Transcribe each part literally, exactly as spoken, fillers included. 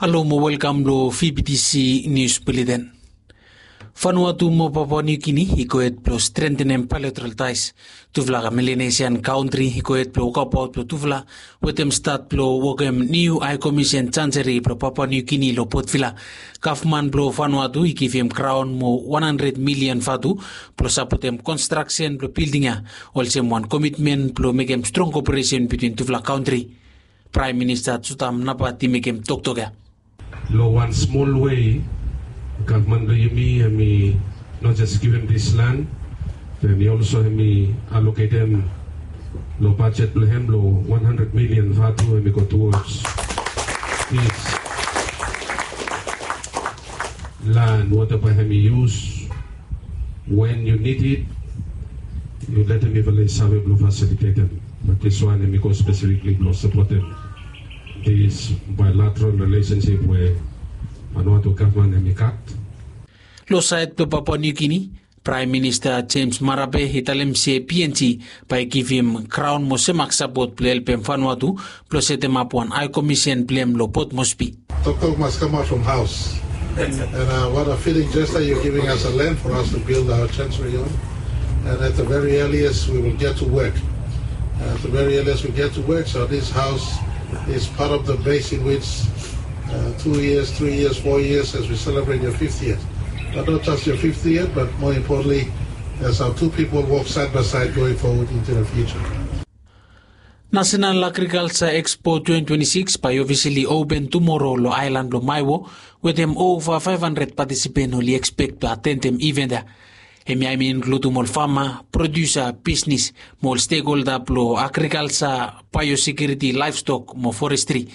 Halo mo welkam lo V B T C News Bulletin. Vanuatu mo Papua New Guinea i go hed blo strengthenem bilateral ties. Tufala Melanesian kantri i go hed blo wokabaot blo tufala wetem stat blo wokem niu High Commission Chancery blo Papua New Guinea lo Port Vila. Gavman blo Vanuatu i givim kraon mo wan handred milian vatu blo sapotem konstraksen blo bilding ya, olsem wan komitmen blo mekem strong koperesen bitwin tufala kantri. Praem Minista Jotham Napat i mekem toktok ya. Lo wan smol wei, gavman blo yumi hemi not just givim this land, be hemi also hemi aloketem lo bajet blo hem lo wan handred milian vatu hemi go towards this land, whatever hemi yus. When you need it, you letem mifala i save blo fasilitetem. But this one hemi go specifically blo sapotem this bilateral relationship we Vanuatu gavman hemi gat. Lo saed blo Papua New Guinea, Praem Minista James Marape i talem se PNG bae i givim kraon mo semak sapot blo helpem Vanuatu blo setemap wan High Commission blo hem lo Port Moresby. Toktok must come out from house. And uh, what a fitting gesture you're giving us a land for us to build our chancery on. And at the very earliest, we will get to work. Uh, at the very earliest, we get to work. So this house is part of the base in which uh, two years, three years, four years as we celebrate your fiftieth. But not just your fiftieth, but more importantly, as our two people walk side by side going forward into the future. National Agriculture Expo twenty twenty-six bae i ofisali open tumoro lo aelan blo Maewo, wetem ova faef handred patisipen oli ekspek blo atendem iven ya. Hemia hemi inkludum ol fama, produsa, bisnis, mo ol stekholda blo agrikalsa, baeosekiuriti, laevstok mo forestri.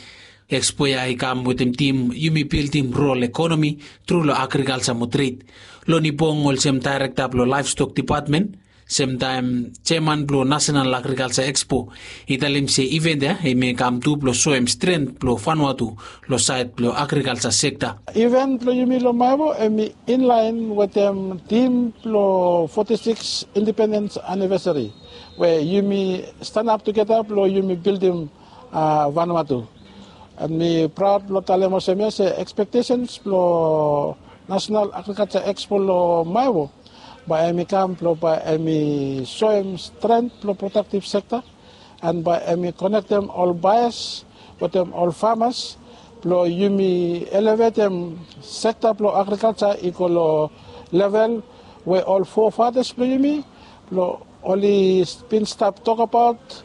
Ekspo ya i kam wetem tim Yumi Bildim Rural Ekonomi tru lo Agrikalsa mo Tred. Loni Bong olsem daerekta blo Laevstok Dipatmen, semtaem jeaman blo Nasenal Agrikalsa Ekspo, i talem se iven ya hemi kam tu blo soem stren blo Vanuatu lo saed blo agrikalsa sekta. Iven blo yumi lo Maewo hemi inlaen wetem tim blo foti sikis indipendens anivesari we yumi stanap tugeta blo yumi bildim Vanuatu. An mi praod blo talem olsem ya se ekspektesens blo Nasenal Agrikalsa Ekspo lo Maewo bae hemi kam blo bae hemi soem stren blo prodaktiv sekta an bae hemi konektem ol baeas wetem ol famas blo yumi elevetem sekta blo agrikalsa i go lo level we ol fofatas blo yumi blo oli bin stap tokbaot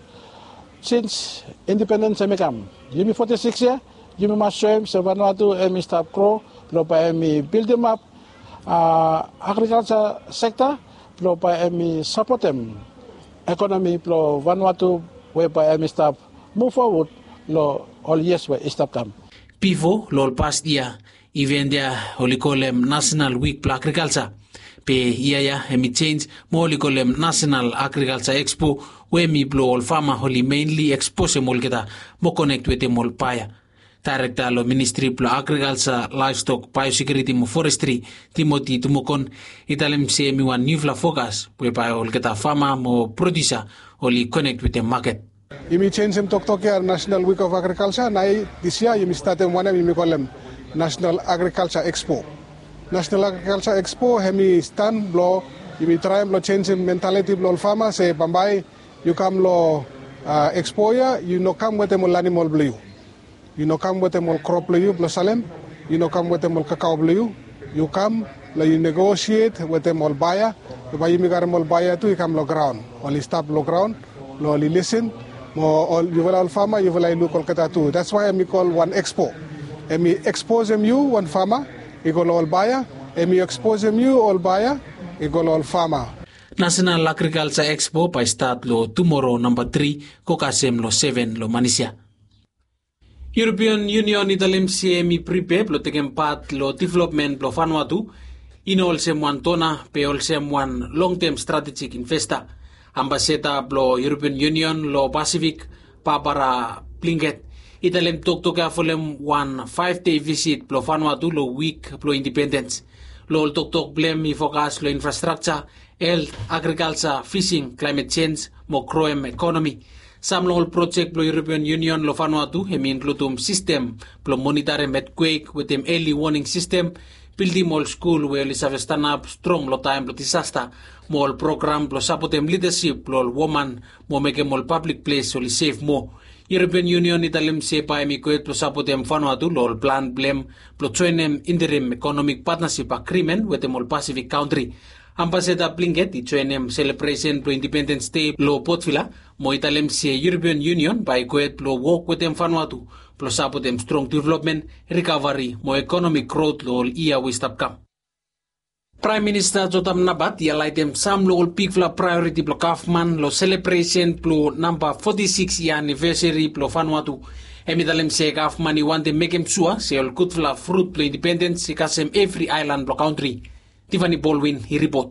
sins indipendens hemi kam. Yumi foti sikis yia, yumi mas soem se Vanuatu hemi stap gro blo bae hemi bildimap agrikalsa sekta blo bae hemi sapotem ekonomi blo Vanuatu we bae hemi stap muv fowod lo ol yias we i stap kam. Bifo lo ol past yia, iven ya oli kolem Nasenal Wik blo Agrikalsa. Be yia ya hemi jenj mo oli kolem Nasenal Agrikalsa Ekspo we hemi blo ol fama oli menli eksposem olgeta mo konek wetem ol baea. Daerekta lo Ministri blo Agrikalsa, Laevstok, Baeosekiuriti mo Forestri, Timoti Tumokon, i talem se hemi wan niufala fokas we bae olgeta fama mo produsa oli konek wetem maket. Yumi jenjem toktok ya National Week of Agriculture, nao dis yia yumi statem wanem yumi kolem National Agriculture Expo. National Agriculture Expo hemi stan blo yumi traem blo jenjem mentaliti blo ol fama se bambae yu kam lo ekspo ya yu no kam wetem ol animol blo yu. Yu no kam wetem ol krop blo yu blo salem. Yu no kam wetem ol kakao blo yu. Yu kam lo yu negosiet wetem ol baea. Bae yumi karem ol baea tu i kam lo graon, oli stap lo graon blo oli lisen. Mo ol yufala ol fama yufala i luk olgeta tu. That's why hemi kol wan ekspo. Hemi eksposem yu wan fama i go lo ol baea. Hemi eksposem yu ol baea i go lo ol fama. Nasenal Agrikalsa Ekspo bae i stat lo tumoro namba tri go kasem lo seven lo manis ya. European Union i talem se hemi pripea blo tekem pat lo developmen blo Vanuatu, i no olsem wan dona be olsem wan longtem stratejik investa. Ambasada blo European Union lo Pasifik, Barbara Blinket, i talem toktok ya folem wan faef dei visit blo Vanuatu lo wik blo indipendens. Lo ol toktok blo hem i fokas lo infrastrakja, helt, agrikalja, fising, klaemet jenj mo groem ekonomi. Sam long ol projek blong European Union long Vanuatu hem i inkludum sistem blong monitorim etkwek wetem eli woning sistem, bildim ol skul we oli save stanap strong long taem blong disasta, mo ol program blong sapotem lidasip blong ol woman mo mekem ol pablik ples oli sef moa. European Union i talem se bae hem i gohed blong sapotem Vanuatu long ol plan blong hem blong joenem interim ekonomik patnasip agrimen wetem ol Pasifik kantri. Ambasada Blinket i joenem selebresen blong Independens Dei long Port Vila mo i talem se European Union bae i gohed blong wok wetem Vanuatu blong sapotem strong developmen, rikavari mo ekonomik grot long ol yia we i stap kam. Praem Minista Jotham Napat i halaetem sam long ol bigfala praeoriti blong gavman long selebresen blong namba foti sikis yia anivesari blong Vanuatu. Hem i talem se gavman i wantem mekem sua se ol gudfala frut blong independens i kasem evri aelan blong kantri. Tiffany Baldwin i ripot.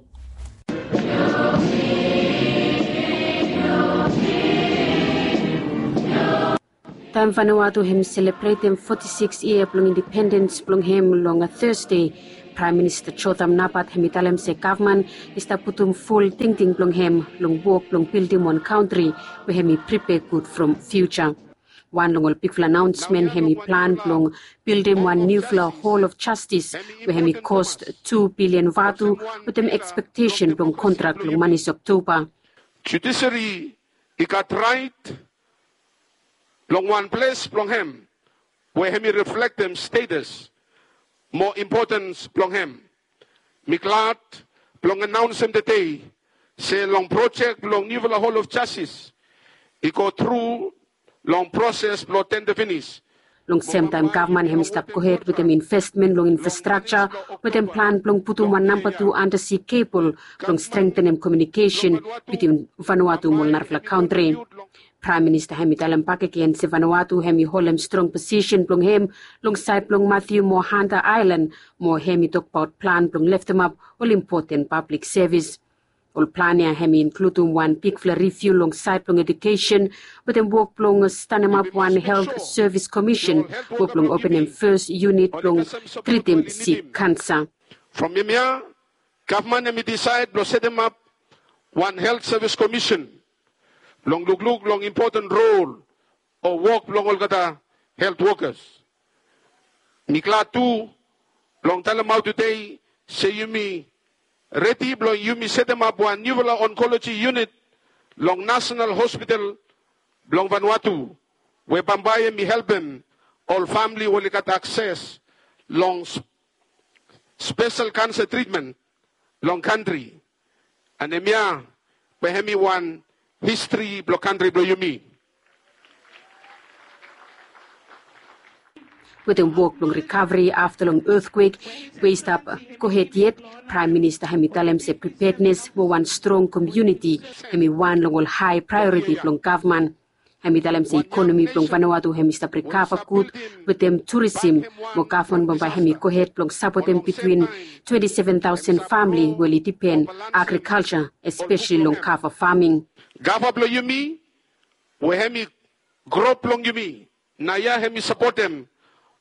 Taem Vanuatu hem i selebretem foti sikis yia blong independens blong hem long Thursday, Praem Minista Jotham Napat hem i talem se gavman i stap putum ful tingting blong hem long wok blong bildim wan kantri we hem i pripea gud from fiuja. Wan long ol bigfala anaonsmen hem i plan blong bildim wan niufala Hall of Justice we hem i kos tu bilian vatu wetem ekspektesen blong kontrak long manis Oktoba. Judiseri i gat raet long wan ples blong hem we hem i reflektem stetas mo impotens blong hem. Mi glad blong anaonsem tede se long projek blong niufala Hall of Justice i go tru long proses blong tenda finis. Long semtaem gavman hem i stap gohed wetem investmen long infrastrakja wetem plan blong putum wan namba tu andasi kebol blong strengtenem komiunikesen bitwin Vanuatu mo ol narafala kantri. Praem Minista hem i talem bakegen se Vanuatu hem i holem strong posisen blong hem long saed blong Matiu mo Hanta Aelan mo hem i tokbaot plan blong leftemap ol impoten pablik sevis. Ol plan ya hem i inkludum wan bigfala riviu long saed blong ejukesen wetem wok blong stanemap wan helt sevis komisen mo blong openem fes yunit blong tritim sik kansa. From hemia gavman hem i disaed blong setemap wan helt sevis komisen blong lukluk long impoten rol o wok blong olgeta helt wokas. Mi glad tu blong talemaot tede se yumi redi blong yumi setemap wan niufala onkoloji yunit long Nasonal Hospital blong Vanuatu we bambae hem i helpem ol famili we oli gat akses long spesel kansa tritmen long kantri. An hemia we hem i wan histri blong kantri blong yumi. Wetem wok blong rikaveri afta long etkwek we i stap gohed yet, Praem Minista hem i talem se pripednes mo wan strong komuniti hem i wan long ol hae praeoriti blong gavman. Hem i talem se ikonomi blong Vanuatu hem i stap rikava gud wetem turisim, mo gavman bambae hem i gohed blong sapotem bitwin twenti seven taosen famili we oli dipen agrikalja, espeseli long kava faming. Gava blong yumi we hem i gro blong yumi naoia hem i sapotem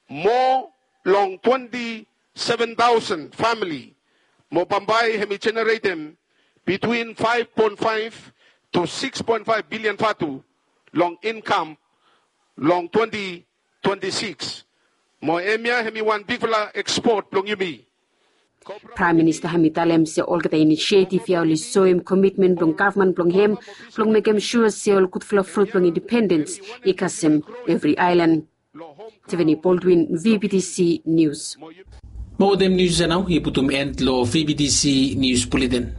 moa long twenti seven taosen famili, mo bambae hem i jeneretem bitwin faef poen faef tu sikis poen faef bilian vatu long inkam long twenti twenti sikis. Mo hemia hem i wan bigfala ekspot blong yumi. Praem Minista hem i talem se olgeta inisietif ya oli soem komitmen blong gavman blong hem blong mekem sua se ol gudfala frut blong indipendens i kasem evri aelan. Tiffany Baldwin, V B T C News. Mo wetem nius ya nao i putum en long V B T C Nius Buletin.